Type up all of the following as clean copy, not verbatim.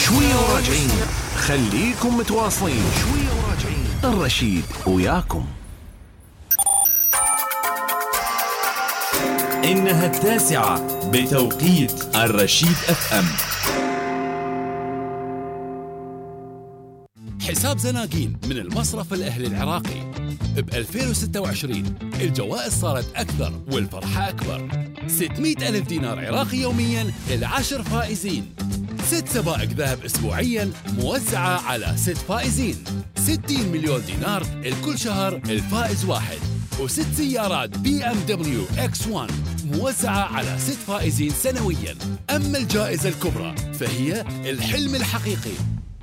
شوية وراجعين، خليكم متواصلين. شوية وراجعين، الرشيد وياكم. إنها 9 بتوقيت الرشيد FM. حساب زناقين من المصرف الأهلي العراقي. ب 2026 الجوائز صارت أكثر والفرحة أكبر. 600 ألف دينار عراقي يومياً ل10 فائزين. 6 سبائك ذهب أسبوعياً موزعة على 6 فائزين. 60 مليون دينار لكل شهر الفائز واحد. و6 سيارات BMW X1 موزعة على 6 فائزين سنوياً. أما الجائزة الكبرى فهي الحلم الحقيقي،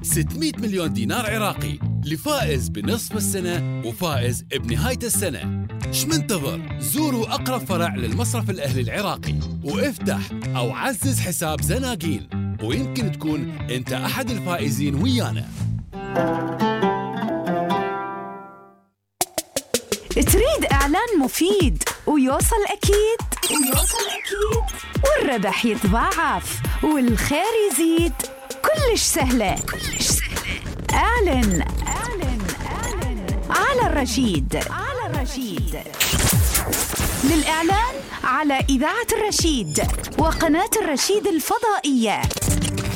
600 مليون دينار عراقي لفائز بنصف السنة وفائز بنهاية السنة. شمنتظر؟ زوروا أقرب فرع للمصرف الأهلي العراقي وافتح أو عزز حساب زناقين، ويمكن تكون أنت أحد الفائزين ويانا. تريد إعلان مفيد ويوصل أكيد والربح يتضاعف والخير يزيد؟ كلش سهلة. اعلن على الرشيد. للإعلان على إذاعة الرشيد وقناة الرشيد الفضائية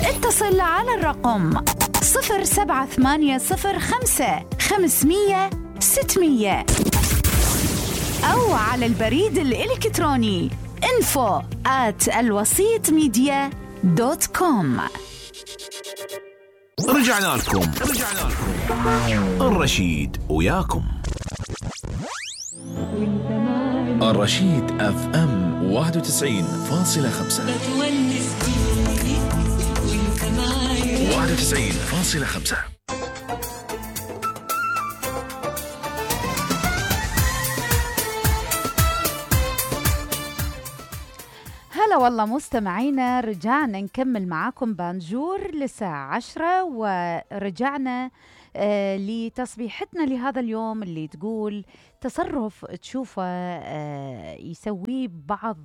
اتصل على الرقم 07805 500 600 أو على البريد الإلكتروني info@alwasitmedia.com. رجعنا لكم. الرشيد وياكم. الرشيد FM 91.5 91.5. هلا والله مستمعينا، رجعنا نكمل معاكم بانجور للساعة 10، ورجعنا لتصبيحتنا لهذا اليوم اللي تقول تصرف تشوفه يسويه بعض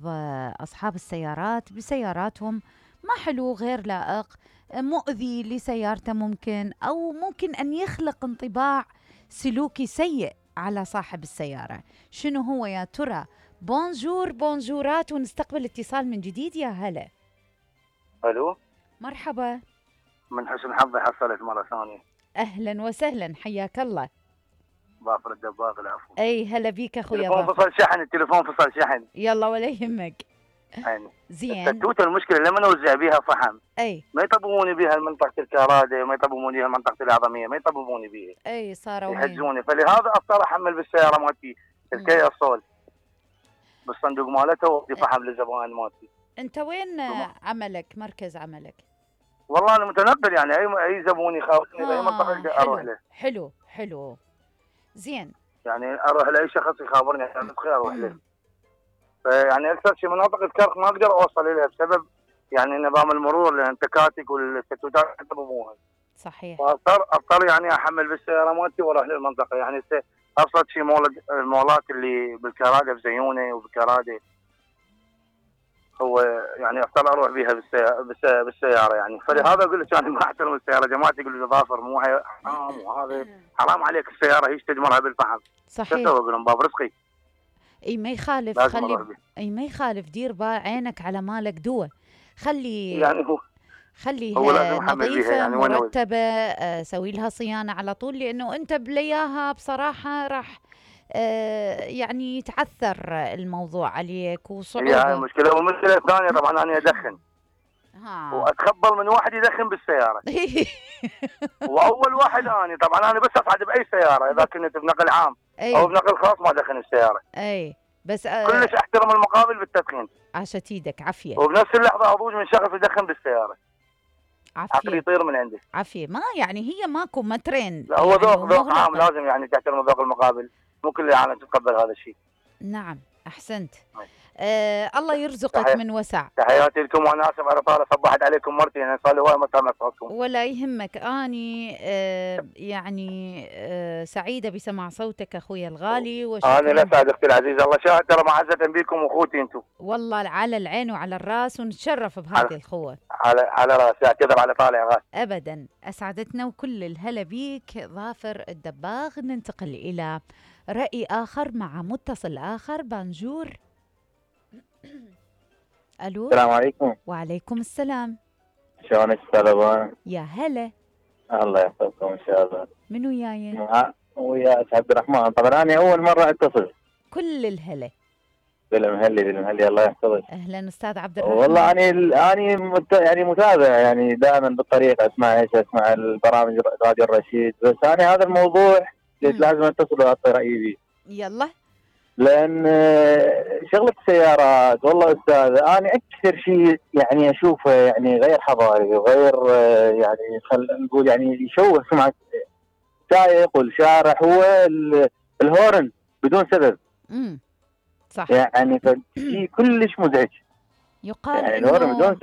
أصحاب السيارات بسياراتهم ما حلو، غير لائق، مؤذي لسيارته ممكن، أو ممكن أن يخلق انطباع سلوكي سيء على صاحب السيارة. شنو هو يا ترى؟ بونجورات، ونستقبل اتصال من جديد. يا هلا. الو، مرحبا. من حسن حظي حصلت مرة ثانية. أهلا وسهلا، حياك الله. ظافر الدباغ، العفو. أي هلا بيك أخويا التليفون فصل شحن، التليفون فصل شحن. يلا ولا يهمك. يعني زين. التوتة المشكلة لما نوزع بيها فحم أي ما يطببوني بيها منطقة الكرادة، ما يطببوني بيها منطقة العظمية، ما يطببوني بيها. أي صاروا يحجزوني، فلهذا أضطر أحمل بالسيارة مالتي الكيا صول بالصندوق مالته وأعطي فحم للزبائن مالتي. أنت وين عملك؟ مركز عملك؟ والله أنا متنقل، يعني أي زبون يخاوفني بأي منطقة أروح له. حلو زين. يعني أروح لأي شخص يخابرني عشان بخير أروح له. يعني أكثر شيء مناطق الكرك ما أقدر أوصل إليها بسبب يعني نظام المرور، لأن التكاتك والتتوتات يطببوها. صحيح. فأضطر يعني أحمل بالسيارة مالتي وأروح للمنطقة. يعني أبسط شيء المولات اللي بالكرادة بزيونة وبالكرادة، هو يعني أضطر أروح بيها بالسيارة يعني. فلهذا أقول لك أنا ما أحترم السيارة. جماعتي يقولوا لي ظافر مو حرام، وهذا حرام عليك السيارة هيش تدمرها بالفحم. صحيح. أقول لهم باب رزقي. اي ما يخالف، ما يخالف، دير عينك على مالك دوا، يعني خليها نظيفة يعني مرتبة، سوي لها صيانة على طول، لأنه أنت بلياها بصراحة راح يعني يتعثر الموضوع عليك وصعوبة. هي المشكلة. والمشكلة الثانية طبعا أنا أدخن وأتخبل من واحد يدخن بالسيارة وأول واحد أنا طبعا أنا بس أصعد بأي سيارة إذا كنت بنقل عام أو بنقل خاص ما أدخن السيارة. أي بس كلش أحترم المقابل بالتدخين. عاشت ايدك، عافية. وبنفس اللحظة أضوج من شخص يدخن بالسيارة، عافية، عقلي يطير من عندي. عافية. ما يعني هي ماكو مترين. لا هو يعني ذوق عام، لازم يعني تحترم ذوق المقابل، مو كل العالم تتقبل هذا الشيء. نعم، أحسنت. الله يرزقك تحية. من وسع. تحياتي لكم، وانا اسف على طارق صبحت عليكم مرتين، يعني صار لي هواي ما سامع صوتكم. ولا يهمك، اني يعني سعيده بسماع صوتك اخوي الغالي، انا وشكرا. لا سعد اختي العزيزه، الله شاهد ترى معزه بكم واخوتي انتم. والله على العين وعلى الراس، ونتشرف بهذه الخوه. على راسي، اعتذر على طالع غاز. ابدا، اسعدتنا وكل الهلا بيك ظافر الدباغ. ننتقل الى راي اخر مع متصل اخر. بانجور. الو. السلام عليكم. وعليكم السلام. شلونك استاذ ابوان؟ يا هلا. الله يحفظكم ان شاء الله. من وياي؟ ويا عبد الرحمن. طبعا انا اول مره اتصل. كل الهلا. بالمهلي الله يحفظك. اهلا استاذ عبد الرحمن. والله اني يعني متابع، يعني دائما بالطريق اسمع البرامج راديو الرشيد، بس انا هذا الموضوع لازم اتصل واعطي رايي فيه. يلا. لان شغله السيارات والله استاذ انا اكثر شيء يعني اشوفه يعني غير حضاري وغير يعني نقول يعني يشوه سمعه السائق والشارع هو الهورن بدون سبب. صح. يعني شيء كلش مزعج. يقال يعني الهورن بدون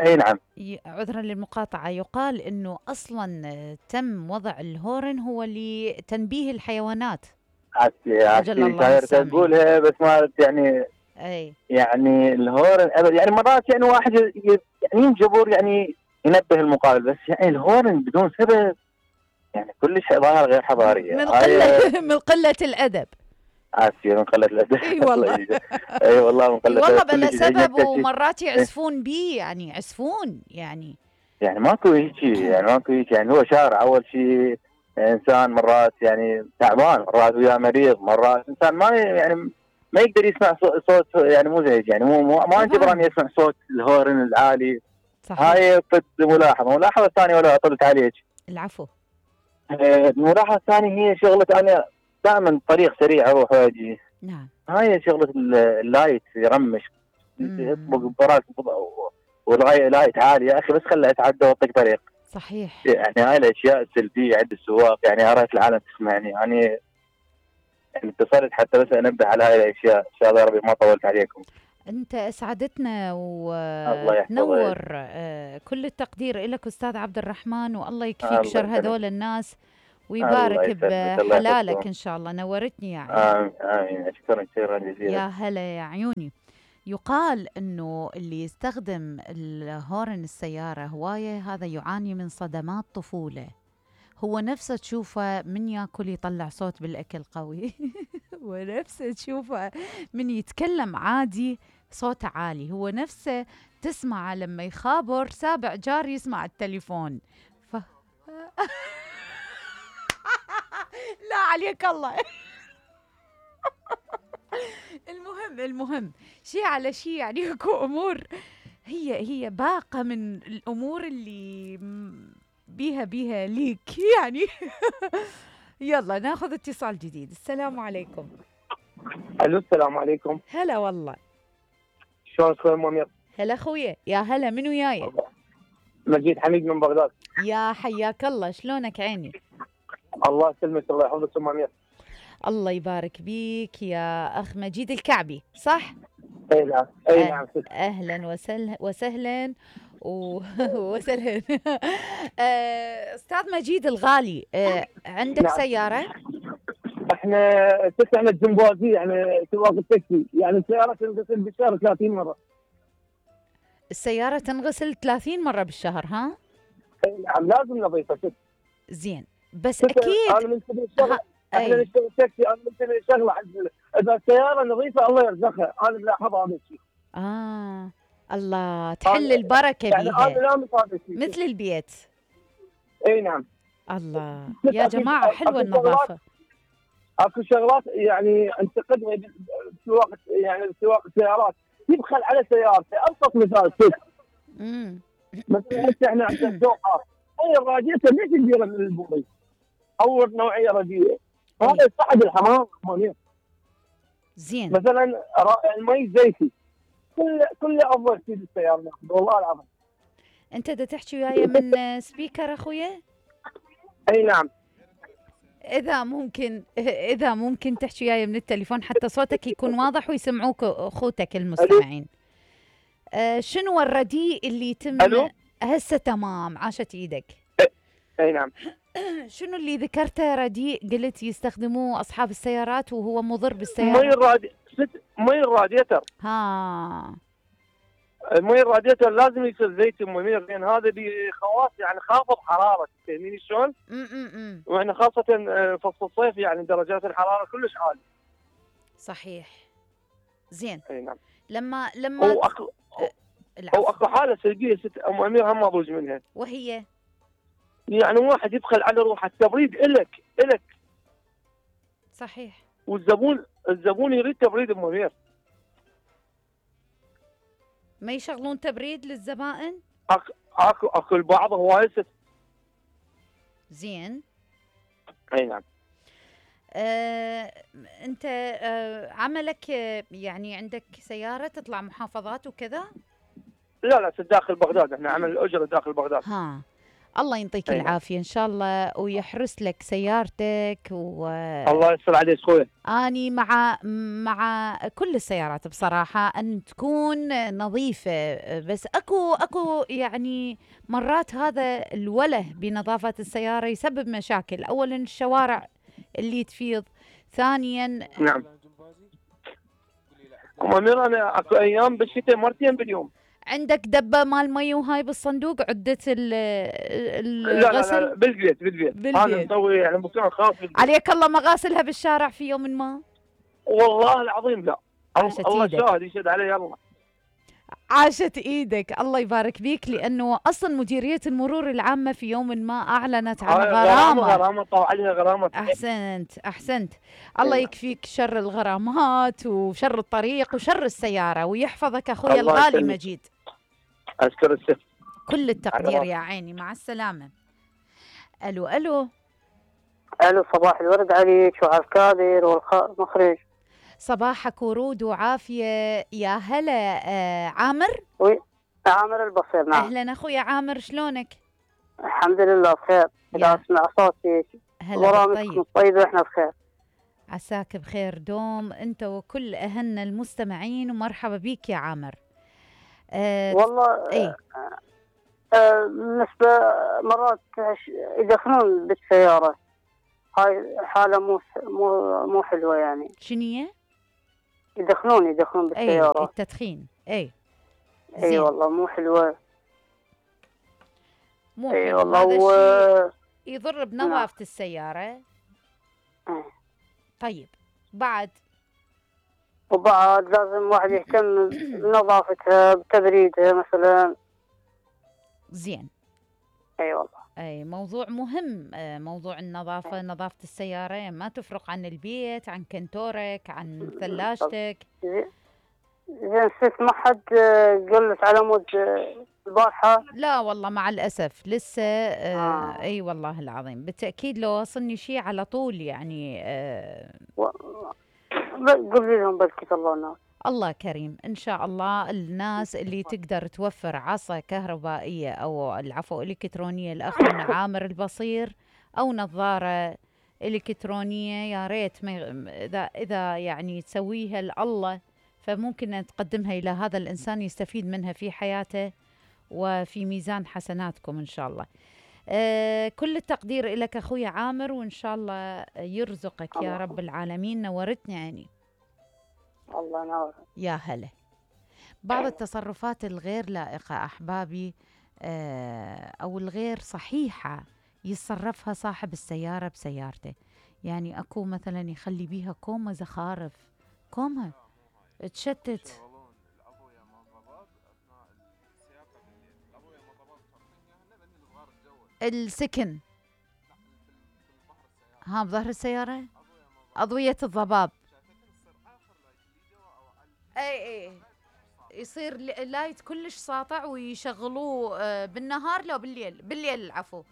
اي نعم. عذرا للمقاطعه، يقال انه اصلا تم وضع الهورن هو لتنبيه الحيوانات. عادي تقولها بس ما يعني اي يعني الهورن ابد، يعني مرات يعني واحد يعني ينجبر يعني ينبه المقابل، بس يعني الهورن بدون سبب يعني كلش ظاهر غير حضاريه. من قله الادب. عافيه من قله الادب. اي والله. اي والله من قله والله بلا سبب، ومرات يعزفون بيه، يعني يعزفون يعني ماكو هيك، يعني هو شارع اول شيء. انسان مرات يعني تعبان، مرات وياه مريض، مرات انسان ما يقدر يسمع صوت يعني مزعج، يعني ما جبران يسمع صوت الهورن العالي. صحيح. هاي ملاحظه الثانيه ولا عطلت عليك. العفو. الملاحظه الثانيه هي شغله انا دائما طريق سريع اروح واجي. نعم. هاي شغله اللايت يرمش يطبق براك والغايه لايت عالي، يا اخي بس خله اتعدى واعطيك طريق. صحيح. يعني هاي الاشياء السلبيه عند السواق، يعني اريت العالم تسمعني. يعني اتصلت حتى بس انبه على هاي الاشياء. ان شاء الله يا ربي ما طولت عليكم. انت اسعدتنا وتنور. كل التقدير لك استاذ عبد الرحمن، والله يكفيك شر هذول الناس ويبارك بحلالك ان شاء الله. نورتني يا عيني. امين. شكرا جزيلا. يا هلا يا عيوني. يقال انه اللي يستخدم الهورن السياره هوايه هذا يعاني من صدمات طفوله. هو نفسه تشوفه من ياكل يطلع صوت بالاكل قوي ونفسه تشوفه من يتكلم عادي صوته عالي. هو نفسه تسمعه لما يخابر سابع جار يسمع التليفون. لا عليك الله. المهم شيء على شيء، يعني اكو امور هي باقه من الامور اللي بيها ليك يعني. يلا ناخذ اتصال جديد. السلام عليكم. الو السلام عليكم. هلا والله. شلونك اخوي منير؟ هلا اخويا. يا هلا. من وياي؟ مجيد حميد من بغداد. يا حياك الله. شلونك عيني؟ الله يسلمك، الله يحفظك ام منير. الله يبارك بيك يا اخ مجيد الكعبي، صح؟ اي نعم. اي نعم. اهلا وسهلا وسهلا. استاذ مجيد الغالي، عندك نعم. سياره؟ احنا الجمبازي، يعني سواق التاكسي، يعني السياره تنغسل بالشهر 30 مره. السياره تنغسل 30 مره بالشهر؟ ها؟ اي نعم لازم نظيفه. زين بس اكيد انا من سبيل الشغل، احنا نشتغل التاكسي، انا من سبيل الشغله اذا السياره نظيفه الله يرزقها. انا ملاحظ هذا الشيء. الله تحل البركه يعني بيها، انا لا مثل مثل البيت. اي نعم. الله يا جماعه حلوه النظافه. اكو شغلات يعني انتقدها بسواقه، يعني سواق السيارات يبخل على سيارته. ابسط مثال مثلا احنا عندنا الدوحه، هي الراجيته ليش كبيره من البوري او نوعيه رديئه، هذا يصعد الحمام. زين مثلا المي الزيتي كل افضل شيء بالسياره ناخذ والله العظيم. انت دا تحكي وياي من سبيكر اخويا؟ اي نعم. اذا ممكن تحكي وياي من التليفون حتى صوتك يكون واضح ويسمعوك اخوتك المستمعين. شنو الرديء اللي يتم؟ الو هسه تمام، عاشت ايدك. اي نعم. شنو اللي ذكرته رديء قلت يستخدموه اصحاب السيارات وهو مضر مي بالسيارة؟ الراديتر. ها المي الراديتر لازم يصير زيت منير، لان هذا بخواص يعني خافض حراره، فاهميني شلون؟ واحنا خاصه فصل الصيف يعني درجات الحراره كلش عاليه. صحيح. زين. اي نعم. لما او اكو حاله سلبيه ست ام امير هم اضوج منها، وهي يعني واحد يبخل على روحه، التبريد الك صحيح، الزبون يريد تبريد ام امير. ما يشغلون تبريد للزبائن؟ اكو البعض هواي ست. زين. اي نعم. انت عملك يعني عندك سيارة تطلع محافظات وكذا؟ لا داخل بغداد، احنا عمل الاجره داخل بغداد. ها، الله يعطيك العافية إن شاء الله ويحرس لك سيارتك الله يستر عليك خويا. أني مع كل السيارات بصراحة أن تكون نظيفة، بس أكو يعني مرات هذا الوله بنظافة السيارة يسبب مشاكل. أولا الشوارع اللي تفيض، ثانيا نعم أم أمير أنا أكو أيام بالشتاء مرتين باليوم. عندك دبة مال مي وهاي بالصندوق، عدة الغسل؟ لا بالبيت. هذا نسوي يعني مكان خاص بالبيت. عليك الله مغاسلها بالشارع في يوم ما؟ والله العظيم لا. الله إيدك. شاهد يشهد علي الله. عاشت ايدك، الله يبارك بيك، لانه اصلا مديريه المرور العامه في يوم ما اعلنت عن غرامه طلع عليها غرامه. احسنت الله يكفيك شر الغرامات وشر الطريق وشر السياره ويحفظك اخوي الغالي مجيد. اشكر الست، كل التقدير يا عيني، مع السلامه. الو صباح الورد عليك وعلى الكادر والمخرج. صباحك ورود وعافية يا هلا. عامر؟ عامر البصير. نعم. أهلا أخويا عامر، شلونك؟ الحمد لله بخير. إذا أسمع صوتي برامجكم طيبة إحنا بخير. عساك بخير دوم أنت وكل أهلنا المستمعين، ومرحبا بيك يا عامر. والله إيه؟ بالنسبة مرات يدخلون بالسيارة، هاي حالة مو حلوة يعني. شنية؟ يدخلون بالسيارة. التدخين. اي والله مو حلوة. مو حلوة. هذا الشيء يضر بنظافة السيارة. طيب وبعد لازم واحد يهتم بنظافتها بتبريدها مثلا. زين. والله. موضوع مهم، موضوع النظافة، نظافة السيارة ما تفرق عن البيت، عن كنتورك، عن ثلاجتك. زين ست، ما حد قال لك على مود البارحة؟ لا والله مع الأسف لسه. اي والله العظيم بالتأكيد لو وصلني شيء على طول يعني. قولي لهم بلكي الله. الله كريم إن شاء الله. الناس اللي تقدر توفر عصا كهربائية أو العفو إلكترونية لأخونا عامر البصير، أو نظارة إلكترونية، يا ريت إذا يعني تسويها لله، فممكن أن تقدمها إلى هذا الإنسان يستفيد منها في حياته وفي ميزان حسناتكم إن شاء الله. كل التقدير لك أخوي عامر، وإن شاء الله يرزقك يا رب العالمين. نورتني عيني. الله ينور. يا هلا. بعض التصرفات الغير لائقة أحبابي أو الغير صحيحة يتصرفها صاحب السيارة بسيارته. يعني أكو مثلا يخلي بيها كومة زخارف، كومة تشتت. السكن بظهر السيارة، أضوية الضباب. اي يصير لايت كلش ساطع ويشغلوه بالنهار. لا بالليل العفو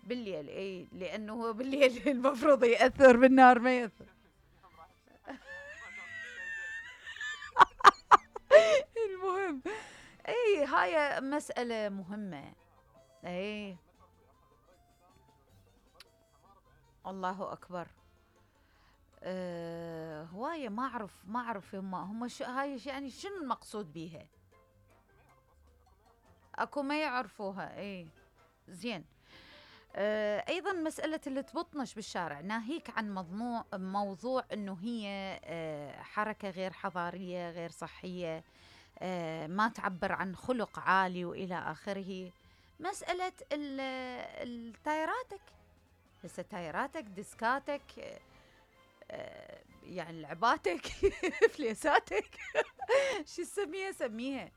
بالليل. اي لانه هو بالليل المفروض ياثر، بالنهار ما ياثر. المهم هاي مسألة مهمة. الله اكبر. هوايه ما اعرف هم هاي يعني شنو المقصود بيها؟ اكو ما يعرفوها. اي زين. ايضا مساله اللي تبطنش بالشارع، ناهيك عن موضوع انه هي حركه غير حضاريه غير صحيه، ما تعبر عن خلق عالي والى اخره. مساله التايراتك، هسه تايراتك، ديسكاتك، يعني لعباتك فليساتك شو سميها.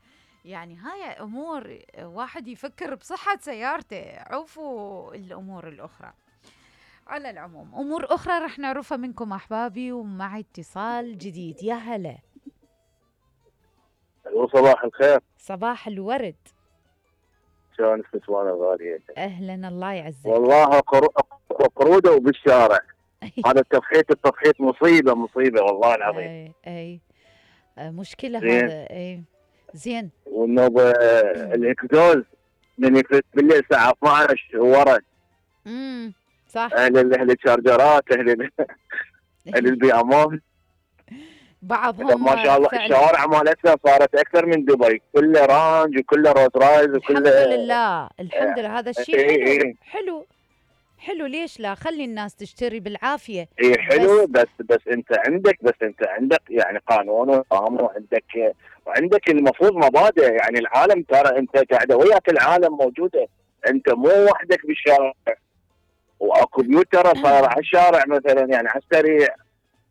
يعني هاي امور واحد يفكر بصحة سيارته، عوفوا الامور الاخرى. على العموم امور اخرى رح نعرفها منكم احبابي، ومعي اتصال جديد. يا هلا. صباح الخير. صباح الورد. شلونك نسوان الغالية؟ اهلا الله يعزك. والله قرودة وبالشارع. هذا التفحيط مصيبة والله العظيم. اي مشكلة هذا. اي زين. والنوبة الاكزوز من يفلت بالليل الساعة 12 ورا. صح. اهل الشارجرات، اهل البيامات بعضهم ما شاء الله. الشوارع مالتنا صارت اكثر من دبي، كله رانج وكله روز رايز وكله. الحمد لله هذا الشيء حلو. ليش لا؟ خلي الناس تشتري بالعافيه. اي حلو. بس انت عندك يعني قانون ونظام، وعندك المفروض مبادئ. يعني العالم ترى انت قاعده وياك، العالم موجوده، انت مو وحدك بالشارع. واكو بيوت ترى صار على الشارع مثلا، يعني على السريع.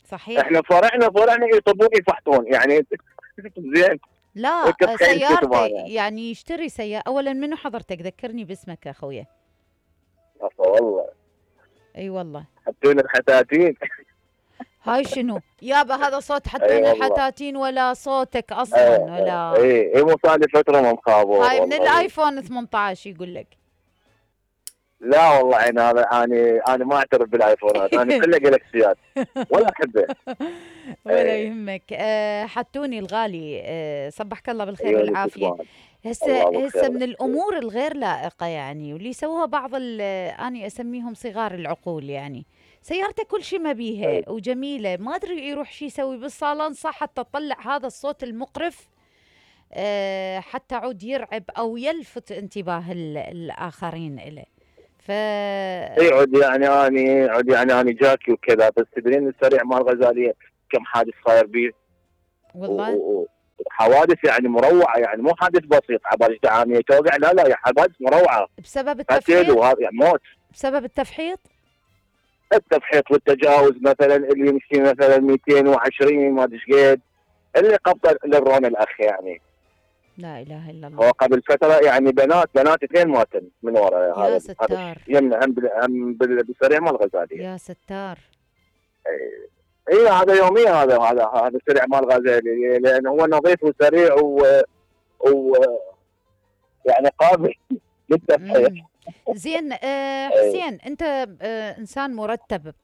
صحيح. احنا فرعنا يطبون يفحطون يعني. زين. لا سيارتي يعني يشتري سيارة. اولا منو حضرتك؟ ذكرني باسمك يا اخويا. والله. اي والله. حطينا الحتاتين. هاي شنو يابا؟ هذا صوت حطينا الحتاتين ولا صوتك اصلا ولا؟ اي مو صار لي فتره ما مخابر. هاي من الايفون 18 يقول لك. لا والله انا ما اعترف بالايفونات، انا كله جالكسيات ولا احبه. ولا يهمك. حتوني الغالي، صبحك الله بالخير والعافيه. هسه من الامور الغير لائقه يعني، واللي يسووها بعض انا اسميهم صغار العقول. يعني سيارته كل شيء ما بيها وجميله، ما ادري يروح شيء يسوي بالصالون صح حتى تطلع هذا الصوت المقرف، حتى عود يرعب او يلفت انتباه الاخرين له. عود يعني اني جاكي وكذا. بس تدرين السريع مال الغزاليه كم حادث صاير بيه والله. حوادث يعني مروعه، يعني مو حادث بسيط عبالي عاميه توقع، لا حوادث مروعه بسبب التفحيط. يعني موت بسبب التفحيط والتجاوز. مثلا اللي يمشي مثلا 220 ما ادري قد، اللي قبض للرون الاخ يعني. لا اله الا الله. هو قبل فتره يعني بنات اثنين ماتن من ورا. يا ستار. يمنا هم بالسريع مال الغزاليه. يا ستار. اي هذا يوميا. هذا السريع مال الغزاليه، لان هو نظيف وسريع يعني قابل للتفحيط. زين. حسين، انت انسان مرتب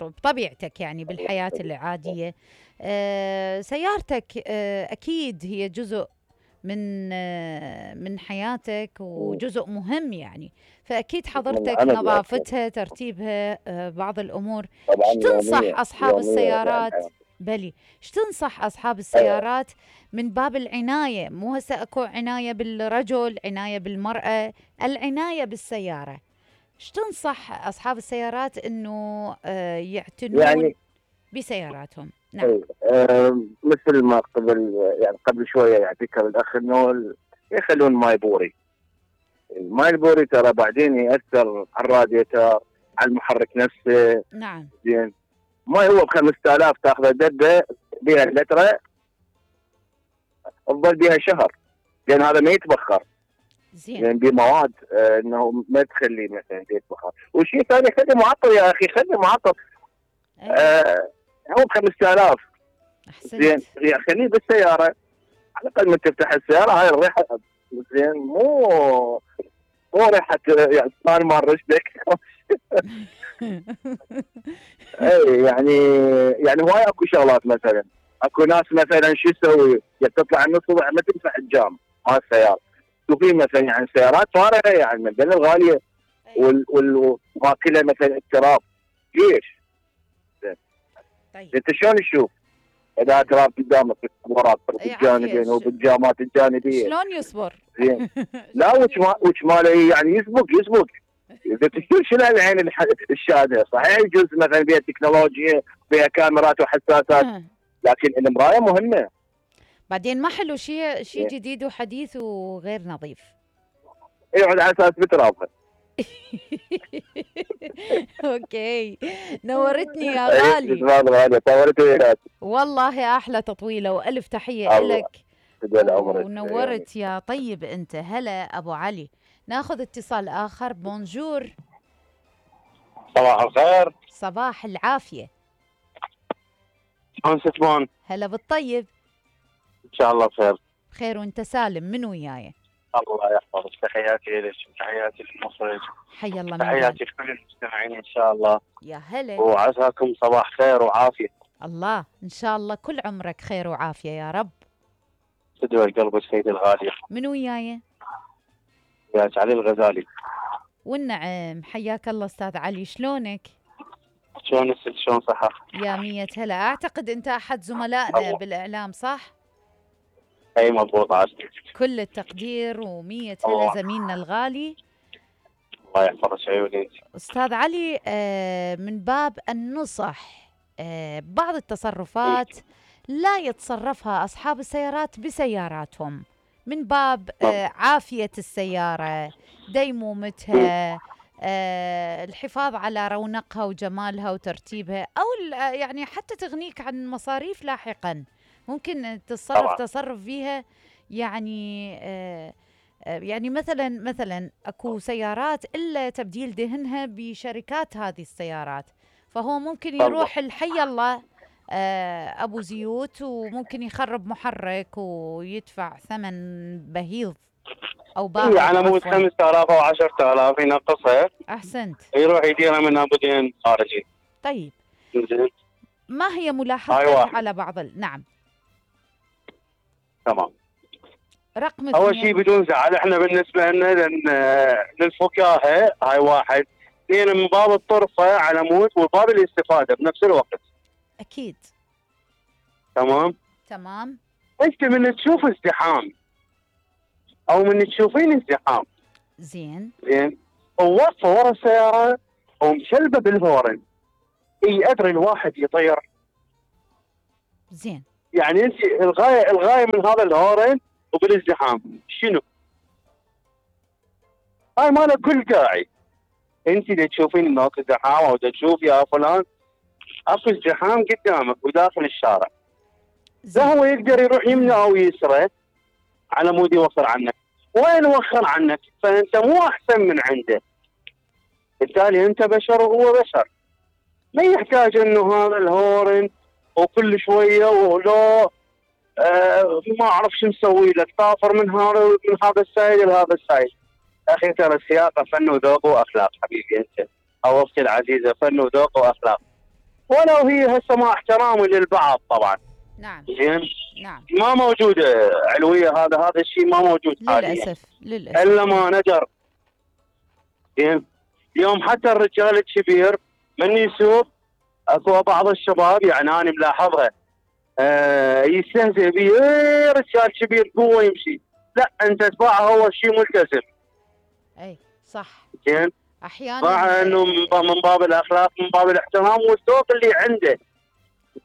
بطبيعتك يعني بالحياه العاديه. سيارتك اكيد هي جزء من حياتك وجزء مهم يعني، فاكيد حضرتك نظافتها، ترتيبها، بعض الامور. ايش تنصح اصحاب السيارات؟ ايش تنصح اصحاب السيارات من باب العنايه؟ مو هسه اكو عنايه بالرجل، عنايه بالمراه، العنايه بالسياره. ايش تنصح اصحاب السيارات انه يعتنون يعني بسياراتهم؟ نعم. مثل ما قبل شويه يعني ذكر الاخ انه يخلون ماي بوري. الماي البوري ترى بعدين ياثر على الراديتر، على المحرك نفسه. نعم. زين. ماي هو ب 5000 تاخذ دبه بها لتره تظل بها شهر، لان هذا ما يتبخر. زين. لان بمواد انه ما تخليه مثلا يتبخر. وشيء ثاني خلي معطر يا اخي، خلي معطر. هو ب 5000. احسنت. زين خليه بالسياره على الاقل من تفتح السياره هاي الريحه. زين مو ريحه يعني ثاني مال رشدك. اي يعني هواي اكو شغلات. مثلا اكو ناس مثلا شو يسوي؟ تطلع النص الصبح ما تنفع الجام مال السياره. وفي مثلا يعني سيارات فارغه يعني من بين الغاليه وماكله مثلا التراب. ليش؟ طيب انت شلون تشوف؟ اذا تراب قدامك الكاميرات بالجانبين وبالجامات الجانبيه شلون يصبر؟ زين. لا وش ماله يعني يسبق اذا تشوف شنو العين الشاهده. صحيح يجوز مثلا بها تكنولوجيا بها كاميرات وحساسات، لكن المرايه مهمه. بعدين ما حلو شيء جديد وحديث وغير نظيف. يقعد على اساس بترابها. اوكي نورتني يا غالي. والله احلى تطويله والف تحيه لك ونورت يا طيب انت. هلا ابو علي. ناخذ اتصال اخر. بونجور. صباح الخير. صباح العافيه. شلون ستمون؟ هلا بالطيب. ان شاء الله بخير. بخير وانت سالم. من وياي؟ الله يحفظك. تحياتي لك وتحياتي للمخرج. حيا الله. تحياتي لكل المستمعين ان شاء الله. يا هلا. وعساكم صباح خير وعافيه. الله ان شاء الله كل عمرك خير وعافيه يا رب. تدوي قلبك سيدي الغالي. من وياي؟ وياك علي الغزالي. والنعم. حياك الله استاذ علي. شلونك؟ شلون الست؟ شلون صحة؟ يا مية هلا. اعتقد انت احد زملائنا بالاعلام صح؟ اي مضبوط عاشتك. كل التقدير ومية هلا زميلنا الغالي. الله يحفظك عيوني. استاذ علي من باب النصح بعض التصرفات لا يتصرفها اصحاب السيارات بسياراتهم من باب عافية السيارة، ديمومتها، الحفاظ على رونقها وجمالها وترتيبها، أو يعني حتى تغنيك عن مصاريف لاحقا. ممكن تتصرف تصرف فيها يعني يعني مثلا اكو سيارات الا تبديل دهنها بشركات هذه السيارات، فهو ممكن يروح الحي الله ابو زيوت وممكن يخرب محرك ويدفع ثمن بهيض او باهظ على مود 5000 او 10000 ينقصها. احسنت. يروح يديرها من بدين خارجي. طيب ما هي ملاحظتك على بعض نعم تمام. رقم اول شيء بدون زعل، احنا بالنسبه لنا للفكاهه هاي واحد، اثنين من باب الطرفه على مود وباب الاستفاده بنفس الوقت. اكيد. تمام. انت من تشوف ازدحام او من تشوفين ازدحام زين ووقفه ورا السياره ومشلبه بالهورن، اي ادري الواحد يطير. زين يعني انت الغايه من هذا الهورن وبالازدحام شنو؟ هاي ما له كل داعي. انت اللي تشوفين انه اكو ازدحام او تشوف يا فلان اكو ازدحام قدامك وداخل الشارع، لا هو يقدر يروح يمنى او يسرى على مود يوخر عنك. وين وخر عنك؟ فانت مو احسن من عنده، بالتالي انت بشر وهو بشر. ما يحتاج انه هذا الهورن وكل شويه ولو ما اعرف شو مسوي لك، طافر من هذا السايد لهذا السايد. اخي ترى السياقه فن وذوق واخلاق حبيبي انت او اختي العزيزه، فن وذوق واخلاق، ولو هي هسه مع احترامي للبعض طبعا. نعم. زين. نعم. ما موجوده علويه، هذا الشيء ما موجود حاليا للاسف الا ما ندر. زين. اليوم حتى الرجال الكبير من يسوق اكو بعض الشباب يعني انا ملاحظها يستهزئ به، رجال كبير قوه يمشي، لا انت تباعه هو شيء ملتزم. اي صح. زين. احيانا مع انه من باب الاخلاق، من باب الاحترام والذوق اللي عنده.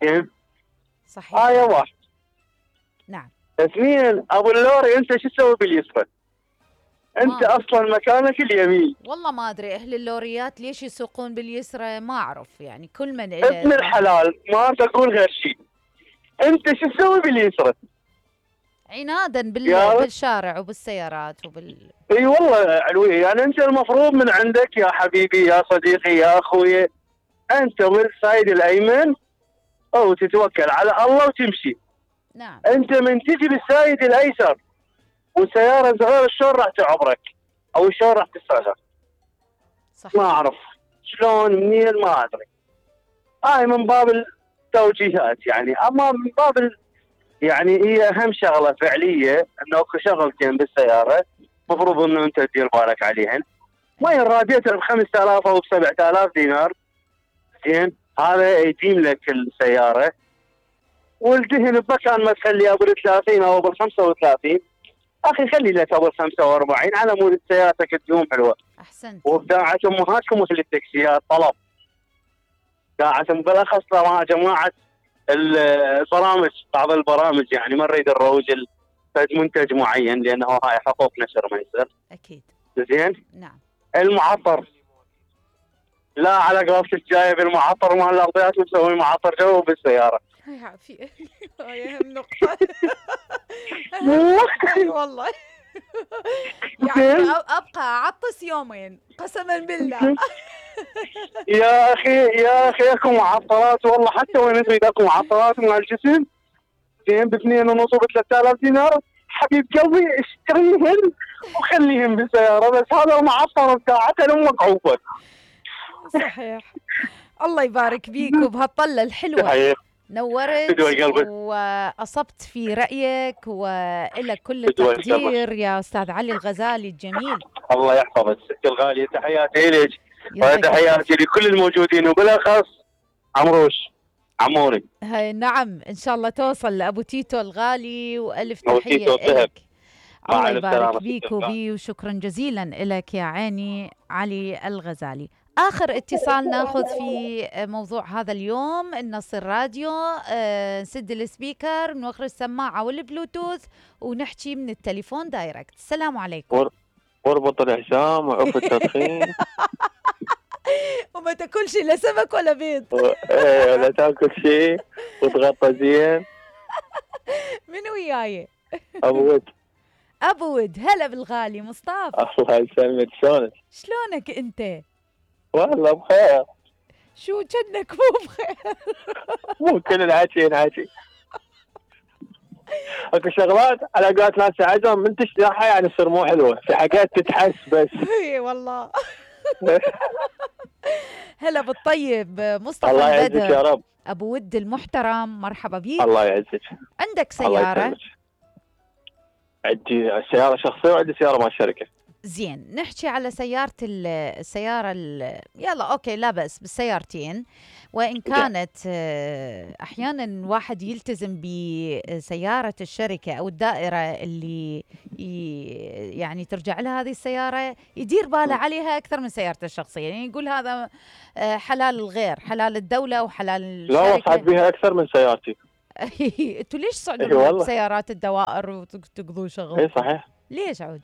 زين. صحيح. آية واحد. نعم. اثنين ابو اللوري انت شو تسوي باليسرى؟ انت اصلا مكانك اليمين. والله ما ادري اهل اللوريات ليش يسوقون باليسرى، ما اعرف يعني كل من ابن الحلال ما تقول غير شيء. انت شو تسوي باليسرى؟ عنادا بالشارع وبالسيارات اي والله علوي، يعني انت المفروض من عندك يا حبيبي يا صديقي يا اخوي انت بالسايد الايمن او تتوكل على الله وتمشي. نعم. انت من تجي بالسايد الايسر والسياره صغيره شلون راح تعبرك او شلون راح تسرعها؟ صح. ما اعرف شلون منين ما ادري. هاي من باب التوجيهات يعني، اما من باب يعني هي اهم شغله فعليه انه اكو شغلتين بالسياره المفروض انه انت تدير بالك عليهن. وين راديتر ب 5000 او ب 7000 دينار زين هذا يديم لك السياره، والدهن بمكان ما تخلي ابو 30 او ابو 35 اخي خلي لك ابو 45 على مود سيارتك تدوم حلوه. احسنت. وبداعة امهاتكم مثل التاكسيات طلب، داعة بالاخص ترى جماعه البرامج، بعض البرامج يعني ما نريد نروج منتج معين لانه هاي حقوق نشر ما يصير. اكيد. زين. نعم. المعطر لا على قولتك جايب المعطر مال الارضيات ومسوي معطر جو بالسياره. هاي عافية. هاي اهم نقطة. اي والله. يعني ابقى اعطس يومين قسما بالله. يا اخي اكو معطرات والله حتى وين تريد اكو معطرات مال الجسم زين ب 2.5 ب 3000 دينار حبيب قلبي اشتريهن وخليهم بالسياره، بس هذا المعطر بتاعته لامك عوفك. صحيح. الله يبارك بيك وبهالطلة الحلوة. نورت وأصبت في رأيك وإلك كل التقدير يا أستاذ علي الغزالي الجميل. الله يحفظك ست الغالية، تحياتي لك وتحياتي لكل الموجودين وبالأخص عموري. نعم إن شاء الله توصل لأبو تيتو الغالي وألف تحية لك. الله يبارك بيك وبي وشكرا جزيلا لك يا عيني علي الغزالي. آخر اتصال ناخذ في موضوع هذا اليوم، نصل راديو، نسد السبيكر، نوخر السماعة والبلوتوث ونحكي من التليفون دايركت. السلام عليكم. وربط الحسام وعف التدخين. وما تاكلش لا سمك ولا بيض. ايه ولا تاكل شيء وتغطى زين. من وياي؟ ابو ود. هلا بالغالي مصطفى. الله يسلمك، شلونك؟ شلونك انت؟ والله بخير. شو جنك مو بخير؟ مو كل الحكي ينحكي. اكو شغلات على قولت ناس عزم من تشرحها يعني تصير مو حلوه، في حاجات تتحس بس. اي والله. هلا بالطيب مصطفى الله يعزك يا رب. ابو ود المحترم، مرحبا بيك. الله يعزك. عندك سياره؟ عندي سياره شخصيه وعندي سياره مع الشركه. زين، نحكي على السيارة يلا أوكي لا بأس بالسيارتين، وإن كانت أحيانا واحد يلتزم بسيارة الشركة أو الدائرة اللي يعني ترجع لها هذه السيارة يدير باله عليها أكثر من سيارته الشخصية، يعني يقول هذا حلال الغير، حلال الدولة وحلال الشركة. لا وصعد بها أكثر من سيارتي. انتوا ليش صعدوا سيارات الدوائر وتقضوا شغل؟ اي صحيح. ليش عود؟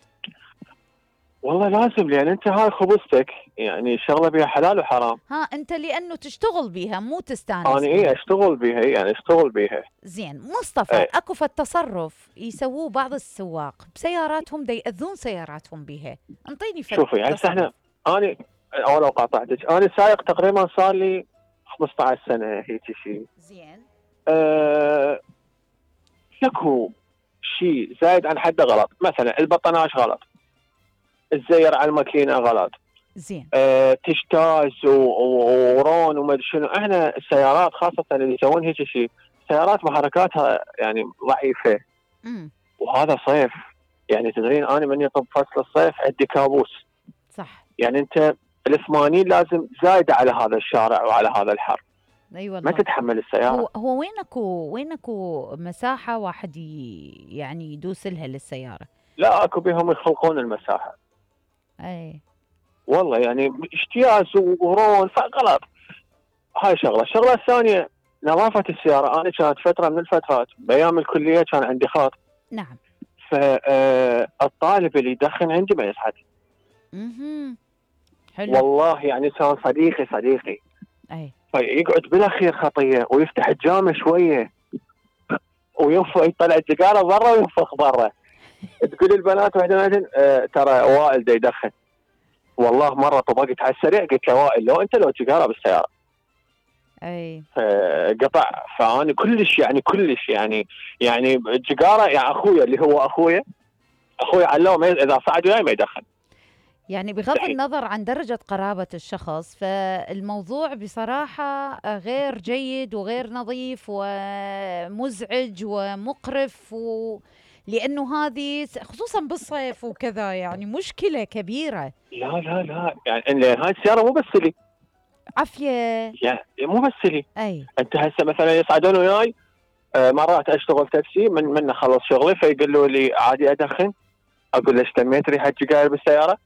والله لازم، لان انت هاي خبزتك، يعني شغله بها حلال وحرام. انت لانه تشتغل بيها مو تستانس. انا اشتغل بيها، يعني اشتغل بيها. زين مصطفى، اكو تصرف يسووه بعض السواق بسياراتهم دا ياذون سياراتهم بيها، انطيني فكره. شوفي يعني احنا انا اول لو قاطعتك، انا سايق تقريبا صار لي 15 سنه هيك شيء. زين. اكو شيء زايد عن حده غلط، مثلا البطناش غلط، الزير على الماكينه غلط. زين. تشتاز ورون وما ادري شنو. احنا السيارات خاصه اللي يسوون هيك شيء، سيارات محركاتها يعني ضعيفه. وهذا صيف، يعني تدرين انا من يطب فصل الصيف عندي كابوس. صح. يعني انت ال80 لازم زايده على هذا الشارع وعلى هذا الحر. اي والله. ما تتحمل السياره. هو وينكو مساحه واحد يعني يدوس لها للسياره؟ لا اكو بهم يخلقون المساحه. اي والله يعني اجتياز ورون فغلط. هاي شغله. الشغله الثانيه نظافه السياره. انا كانت فتره من الفترات بايام الكليه كان عندي خاط. نعم. فالطالب اللي يدخن عندي ما يصعد. حلو. والله يعني كان صديقي. اي. فيقعد بلا خير خطيه ويفتح الجامع شويه ويطلع السيجاره برا وينفخ برا. تقول البنات واحده ترى وائل دا يدخن. والله مره طبقت على السريع قلت له وائل لو انت لو سيجاره بالسياره. اي. قطع. فاني كلش يعني السيجاره يعني اخويا اللي هو اخويا علمه اذا صعد وياي ما يدخن. يعني بغض النظر عن درجة قرابة الشخص، فالموضوع بصراحة غير جيد وغير نظيف ومزعج ومقرف، لأنه هذه خصوصا بالصيف وكذا يعني مشكلة كبيرة. لا يعني هاي السيارة مو بس لي. عافيه. يعني مو بس لي، اي انت هسه مثلا يصعدون وياي مرات اشتغل تاكسي من اخلص شغلي فيقولوا لي عادي ادخن، اقول له اشتميت ريحه سجاير بالسياره؟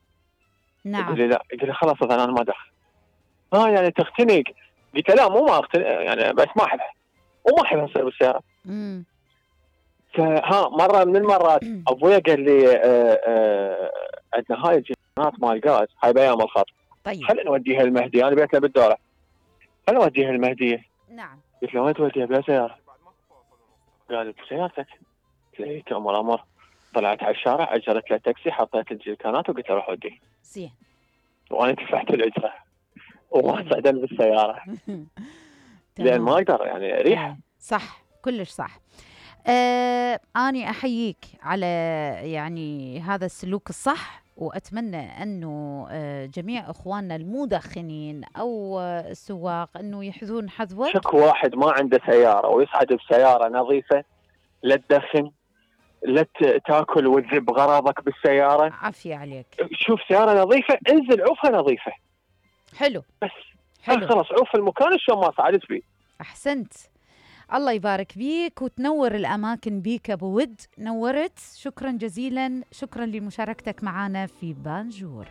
نعم. يقول لي لا، يقول لي خلاص اذا انا ما ادخن. يعني تختنق؟ قلت له لا مو ما اختنق يعني، بس ما احبها وما احبها تصير بالسياره. مره من المرات ابويا قال لي عندنا هاي الجنات مال غاز، هاي بايام الخط، طيب خلينا نوديها المهدي، انا بيتنا بالدوره، خلينا نوديها المهديه. نعم. قلت له وين توديها؟ بلا سياره. قال بسيارتك. قلت له تأمر امر. طلعت على الشارع، اجرت له تاكسي، حطيت الجيركانات وقلت له روح وديه. زين. وانا دفعت الاجره وما صعدت بالسياره لان ما اقدر يعني ريحه. صح، كلش صح. أنا أحييك على يعني هذا السلوك الصح، وأتمنى أنه جميع إخواننا المدخنين أو السواق أنه يحذون حذوك. شك واحد ما عنده سيارة ويصعد بسيارة نظيفة، لا تدخن، لا تاكل وتذب غراضك بالسيارة. عافية عليك. شوف سيارة نظيفة، انزل عوفها نظيفة. حلو. بس حلو. خلاص عوف المكان شلون ما صعدت فيه. أحسنت. الله يبارك بيك وتنور الأماكن بيك أبو ود، نورت. شكرا جزيلا، شكرا لمشاركتك معنا في بانجور.